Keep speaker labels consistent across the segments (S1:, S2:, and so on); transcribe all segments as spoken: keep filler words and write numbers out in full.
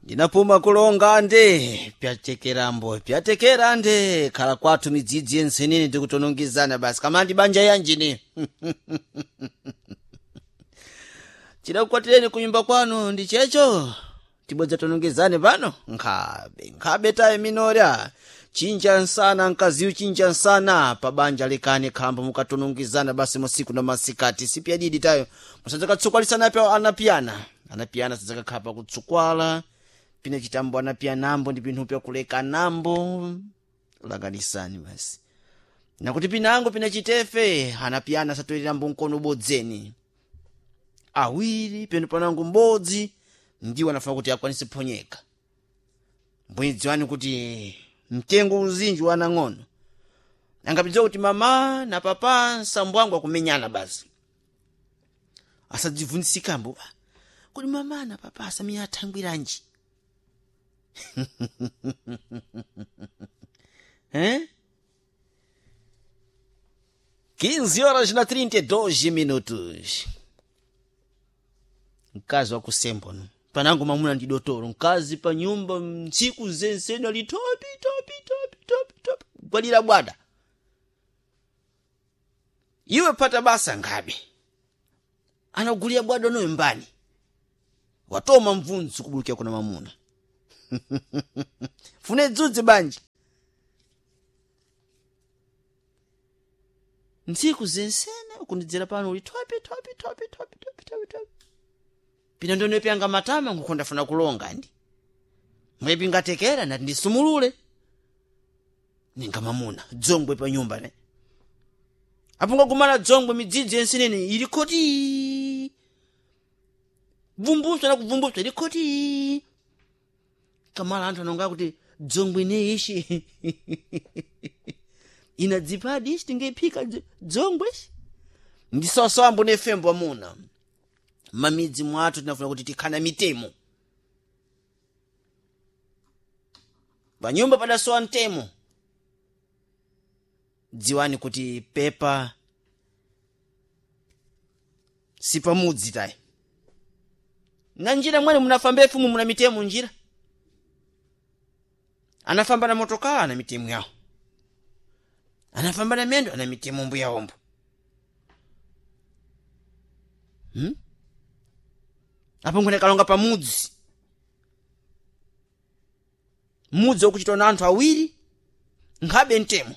S1: Ndinapuma kulonga nde pyatekerambo pyatekera nde khala kwathu midzidzi yensenene tikutonongezana basi kamandi banja yanjine chidakukwatireni kunyumba kwanu ndi checho tibodza tonongezane pano nkhabe nkhabe taye minorya chinja nsana nkaziyu chinja nsana pabanja lekani khambo mukatonongezana basi musiku na masikati sipyadidi tayo musadzakatsukwalisana pya anapiyana anapiyana sadzakakhala pakutsukwala pine chitambo anapiyanambo ndi pinthu pyakulekanambo langanisani basi nakuti pinango pina chitefe anapiyana satoyerambo mkono ubodzeni awiri penu panango mbodzi ndiwo anafuna kuti akwanise phonyeka mbwedziwani kuti mtengo uzinji wanang'ono angapidziwa kuti mama na papa nsambo wangu akumenyana basi asadzivunisikambo kuti mama na papa asamiya athangwiranji eh? quinze horas na trinta e dois minutos. Mkazi wakusembo no panango mamuna ndi dotolo mkazi pa nyumba ntsiku zensene ali topi topi topi topi topi gwalira bwada iwe pata basa ngabe anagulira bwada noyo mbani watoma mvunzi kubulukira kuna mamuna fune dzudzi banji ntsiku zensene ukundidzera pano uli topi topi topi topi topi topi topi pina ndonepyanga matama nkukho ndafuna kulonga ndi mwepingatekera nati ndisumulule ninga mamuna dzongwe pa nyumba ne apungagumana dzongwe midzidzi yensenene ili khoti vumbuswa nakuvumbuswa ili khoti kamala anthu anonga kuti dzongwe ne ishi inadzipadi ishi tingephika dzongwe ishi ndisawasawa mbone fembo amuna mamidzi mwathu tinafuna kuti tikhana mitemo panyumba padasowa mtemo dziwani kuti pepa sipamudzi tayi na njira mwene munafamba efumu muna mitemo njira anafamba na motokaa ana mitemo yawo anafamba na mendo ana mitemo mbuyawombo hmm? Apo nkhone kalonga pamudzi mudzi wakuchitwa na anthu awiri nkhabe mtemo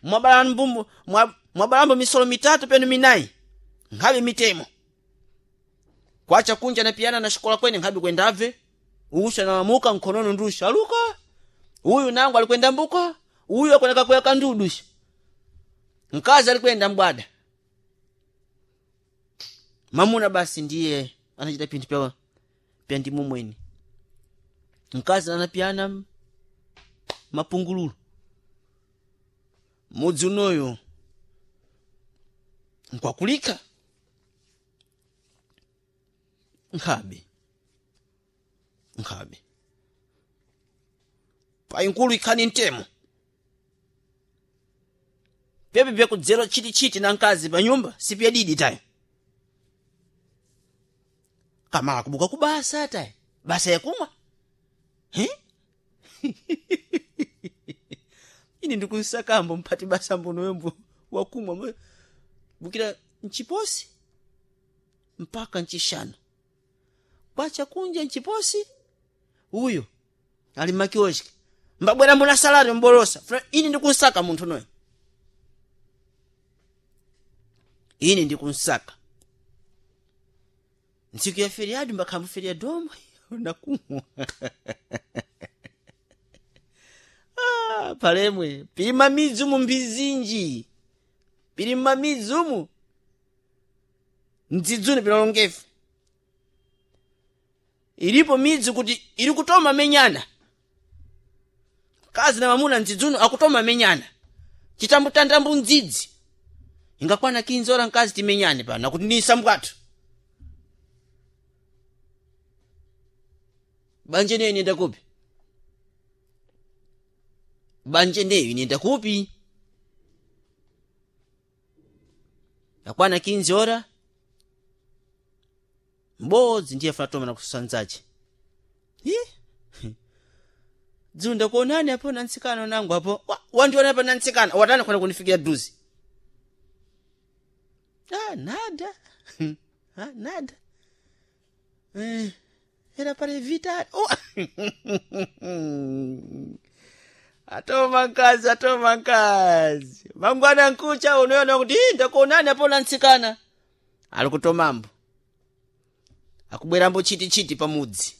S1: mwabalambo mwabalambo misolo mitatu penu minayi nkhabe mitemo kwacha kunja napiyana na xikola kwene nkhabe kwendabve usha nalamuka nkhonono ndusha aluka uyu nangu alikwenda mbuka uyu akoneka kuya kandudusha mkazi alikwenda mbwada mamuna basi ndiye anachita pinthu pya pya ndimu mwene mkazi anapiyana mapungululu mudzi unoyo nkwakulika nkhabe nkhabe payinkulu ikhani mtemo pepe pyakudzera chitichiti na mkazi pa nyumba sipyadidi tayo kamala kubuka kubasa tayi basa yakumwa he ine ndikunsakambo mphati basa mbonoyombo wakumwa bukira mchiposi mpaka nchishanu kwacha kunja nchiposi uyo ali makioski mbabwera mbona salari mbolosa ine ndikunsaka munthu noyo ine ndikunsaka ntsiku ya feriado mbakhambo feriadombo nakumwa ah, palemwe pili mamidzi umu mbizinji pili mmamidzi umu mdzidzuni pinalongefe ilipo midzi kuti ili kutoma menyana kazi na mamuna mdzidzuni akutoma menyana chitambutantambu mdzidzi ingakwana kinzora mkazi timenyane pano nakuti nisambwathu banje neyo inenda kupi banje neyo inenda kupi yakwana kinzi ora m'bodzi ndiye afuna toma na kusanzache Hi? Dzunda kuonani apo nantsikana nangu apo. Wa- Wandiona apo nantsikana. Watani khona kunifikira duzi. Ah, nada. Ah, nada. Eh, era para evitar. Oh. Atoma nkazi, atoma nkazi. Mangwana nkucha unoona kuti "Ii, ndakuonani apo nantsikana. Ali kutomambo. Akubwerambo chiti-chiti pamudzi.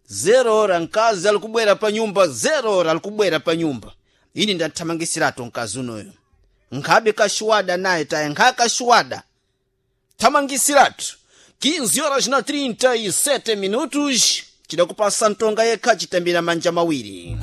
S1: Zero ora nkazi alikubwera pa nyumba, zero ora alikubwera pa nyumba. Ini ndathamangisirato mkazi unoyo. Nkhabe kashuwada naye taye nkhakashuwada. Thamangisiratu. quinze horas na trinta e sete minutos. Chidakupasa ntonga yekha chitambira manja mawiri.